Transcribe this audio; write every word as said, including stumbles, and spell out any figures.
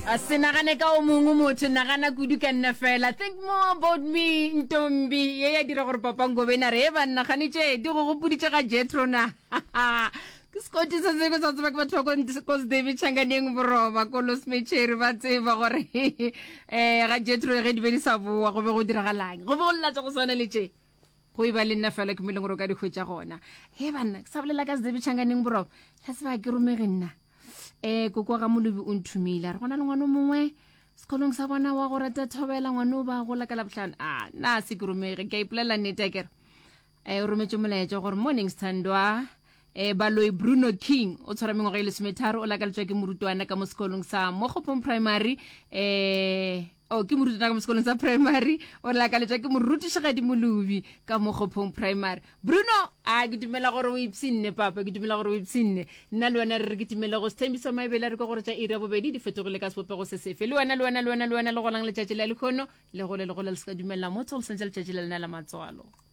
A se nagane ka o mongwe motho, nagana kudu ka nna fela. Think more about me, ntombi. Ye ya dira gore Papa Ngobeni a re, He banna, kgane tše di go gopoditše ga Jethro na? Ke sekoti se sengwe sa tseba ke batho ba ko Sedebi Tšhanganeng Boroba, ko Losmecheri ba tseba gore um ga Jethro ge di be di sa boa go be go diragalang. Go be go lla tša go swana le tše. Go e ba le nna fela ke mo e leng gore o ka di hwetša gona. He banna, ke sa bolela ka Sedebi Tšhanganeng Boroba, la tseba ke romege nna. Eh koko wa ga Molobi o nthomile a re go na le ngwana o mongwe sekolong sa bona wa go rata thobela ngwana o ba gola ka labohlano. A na se ke romege ke a ipolela nnete a kere. Eh o rometše molaetša gore morning Sthandwa eh Baloi Bruno King o tshwara mengwaga e lesometharo o lakaletšwa ke morutwana ka mo sekolong sa Mogopong Primary eh o ke morutwana ka mo sekolong sa primary o lakaletšwa ke morutišigadi Molobi ka Mogopong Primary. Bruno a ke dumela gore o ipshinne papa ke dumela gore o ipshinne nna le wena re re ke timele go sethembiso maebele a re ke gore tša iri ya bobedi di fetogile ka sebopego se sefe le wena le wena le wena le wena le golang letšatši la lekgono le gole le gole le se ka dumelela motho go sentša letšatši la lena la matswalo.